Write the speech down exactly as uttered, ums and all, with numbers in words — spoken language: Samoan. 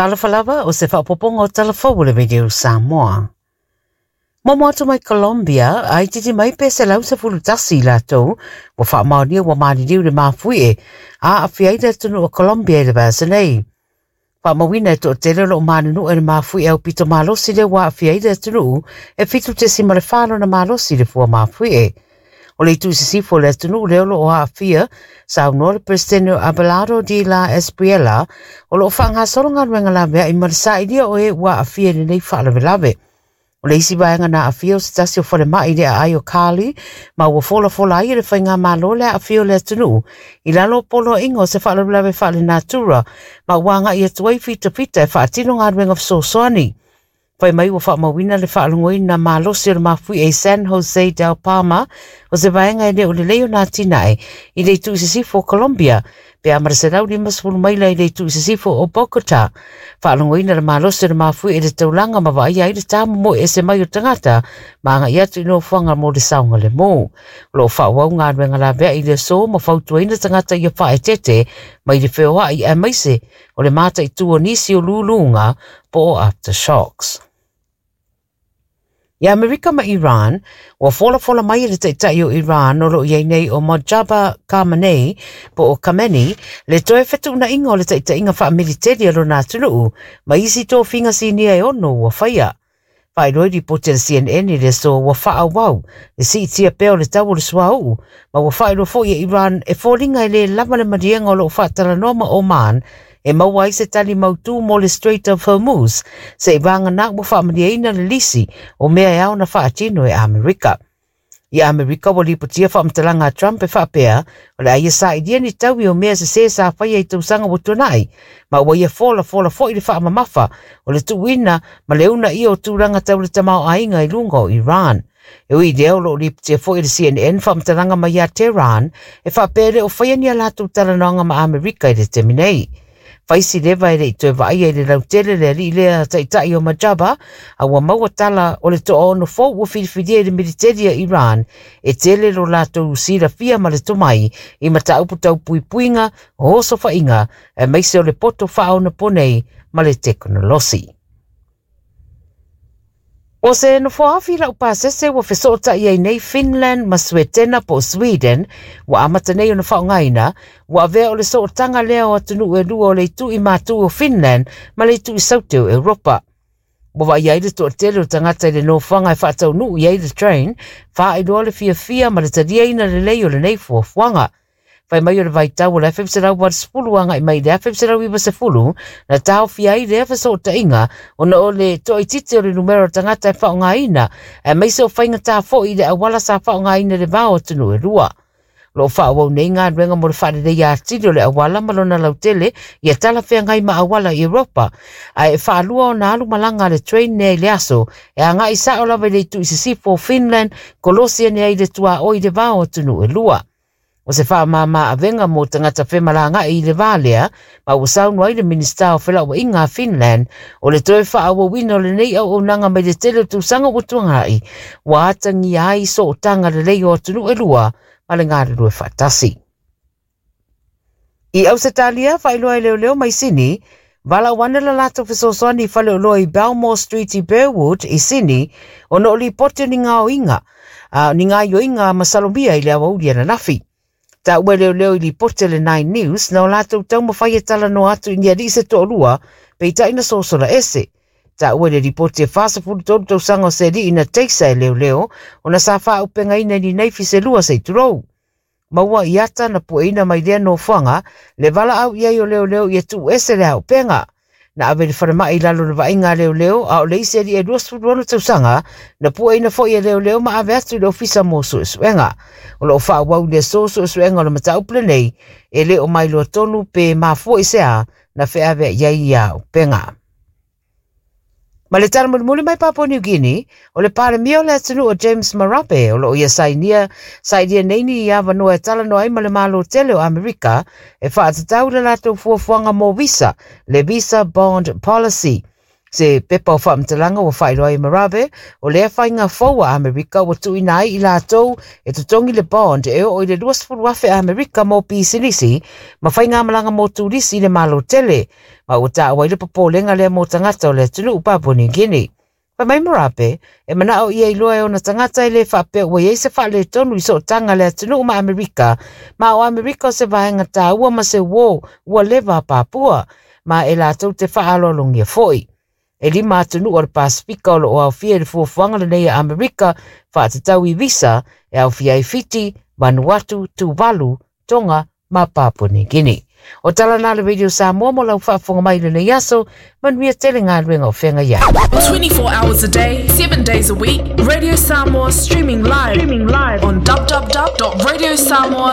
Talofa lava o se faaopoopoga o Tala Fou o le Radio Samoa. Momo atu mai Colombia, ai titi mai pe selau sefulu tasi i latou, ua faamaonia ua maliliu le mafuie, a aafia ai le atunuu o Colombia i le vaiaso nei. Faamauina e toatele o loo manunua i le mafuie aupito malosi lea ua aafia ai le atunuu e fitu tesima le fa lona malosi le fua mafuie. O le itu i sisifo o le atunuu lea o loo aafia, saunoa le Peresetene o Abelardo de la Espriella, o loo faagasolo galuega laveai ma le sailia o e ua aafia i lenei faalavelave. O le isi vaega na aafia o se tasi o falemai i le aai o Cali, ma ua folafola ai e le faigamalo le aafia o le atunuu i lalo o poloaiga o se faalavelave faalenatura, ma ua agai atu ai fitafita e faatino galuega fesoasoani. Fai mai ua faamauina le faalogoina malosi o le mafuie i San Jose del Palma, o se vaega e le o lelei ona atinae i le itu i sisifo o Colombia, pe a ma le selau limasefulu maila i le itu i sisifo o Bogota. Faalogoina le malosi o le mafuie i le taulaga ma vaaia ai le tamomoe ese mai o tagata ma agai atu i nofoaga mo le saogalemu. O loo faaauau galuega laveai i le aso ma fautuaina tagata ia faaeteete mai le feoai aemaise o le mataitu o nisi o luluga po o aftershocks. Ia Amerika ma Iran, ua folafola mai e le taitai o Iran o loo i ai nei o Mojtaba Khamenei po o Khamenei le toe fetuunaiga o le taitaiga faamiliteli a lona atunuu ma isi tofiga sinia e ono ua faia. Faailoa i lipoti a le C N N i le aso ua faaauau le siitia pea o le tau o le suauu, ma ua faailoa foi e Iran e foliga e lē lava le maliega o loo faatalanoa ma Oman e maua ai se tali mautū mo le Strait of Hormuz, se i vagana ua faamalieina le lisi o mea e ao na faatino e Amerika. I Amerika ua lipotia faamatalaga a Trump e faapea, o le a ia sailia ni taui o mea sesē sa faia i tausaga ua tuanai, ma ua ia folafola foi le faamamafa o le tuuina ma le uunaia o tulaga tau le tamaoaiga i luga o Iran. E ui lea o loo lipotia foi e le C N N faamatalaga mai ia Tehran e faapea le o faia ni a latou talanoaga ma Amerika i le taimi nei. Faisi leva e le i toe vaaia i le lautele le alii lea taitai o Mojtaba, a ua maua tala o le toaono fou ua filifilia i le militeli a Iran e tele lo latou silafia ma le tomai i mataupu tau puipuiga o osofaiga aemaise o le poto faaonaponei ma le tekonolosi. O se nofoafi lau pasese ua fesootai ai nei Finland ma Suetena po o Sweden, ua amata nei ona faaaogaina, ua avea o le sootaga lea o atunuu e lua o le itu i matu o Finland ma le itu i saute o Europa. Ua vaaia ai le toatele o tagata i le nofoaga e faataunuu i ai le train, faailoa le fiafia ma le taliaina lelei o lenei fuafuaga. Fai mai o le vaitau o le afe selau valosefulu agai mai i le afe selau ivasefulu, na taofia ai lea fesootaiga ona o le toaitiiti o le numera o tagata e faaaogaina, aemaise o faigata foi i le auala sa faaaogaina i le va o atunuu e lua. O loo faaauau nei galuega mo le faaleleia atili o le auala ma lona lautele ia talafeagai ma auala i Europa, ae e faalua ona alu malaga a le train nea i le aso e agai sao lava i le itu i sisifo o Finland, kolosi ane ai le tuaoi i le va o atunuu e lua. O se faamama avega mo tagata femalagai i le va lea, ma ua saunoa ai le Minisita o Felauaiga a Finland o le toe faaauauina o lenei auaunaga mai le tele o tausaga ua tuanai, ua atagia ai sootaga lelei o atunuu e lua ma le galulue faatasi. I Ausetalia, faailoa e leoleo mai Sini, valaau ane le latou fesoasoani i faleoloa i Belmore Street i Burwood i Sini, ona o lipoti o ni gaoiga, a, ni gaoioiga masalomia i le aoauli ananafi. Taua e leoleo i lipoti a le Nine News na o latou taumafai e talanoa atu i ni alii se toalua peitai na sosola ese. Taua e le lipoti e fasefulu tolu tausaga o se alii na teisa e leoleo ona sa faaupegaina i ni naifi se lua se i tulou. Maua i ata na pueina mai lea nofoaga le valaau i ai o leoleo ia tuu ese le auupega. Na ave le falemai i lalo le vaaiga a leoleo a o le isi alii e luasefulu ono tausaga na pueina foi e leoleo ma ave atu i le ofisa mo suesuega. O loo faaauau i le aso suesuega o le mataupu lenei e le o mailoa tonu pe mafua i se a na feaveai ai ia auupega. Ma le tala mulimuli mai Papua New Guinea, o le palemia o le atunuu o James Marape o loo ia sainia, sainia nei ni i avanoa e talanoa ai ma le Malo tele o Amerika e faatatau le latou fuafuaga mo visa, le Visa Bond Policy. Se pepa o faamatalaga ua faailoa ai Marape, o lea faiga fou a Amerika ua tuuina ai i latou e totogi le bond e oo i le luasefulu afe Amerika mo pisinisi ma faigamalaga mo turisi i le Malo tele, ma ua taua ai le popolega lea mo tagata o le atunuu Papua New Guinea. Fai mai Marape, e manao ia iloa e ona tagata e le faapea ua iai se faaletonu i sootaga le atunuu ma Amerika, ma o Amerika o se vaega taua ma se uō ua leva a Papua, ma e latou te faaaloalogia foi. E lima atunuu o le Pasifika o loo aofia i le fuafuaga lenei a Amerika faatatau i visa e aofia ai Fiti, Vanuatu, Tuvalu, Tonga ma Papua New Guinea. O tala na le Radio Samoa mo lau faafofoga mai lenei aso, manuia tele galuega o feagai ai. twenty-four hours a day, seven days a week, Radio Samoa streaming live, streaming live on w w w dot radio samoa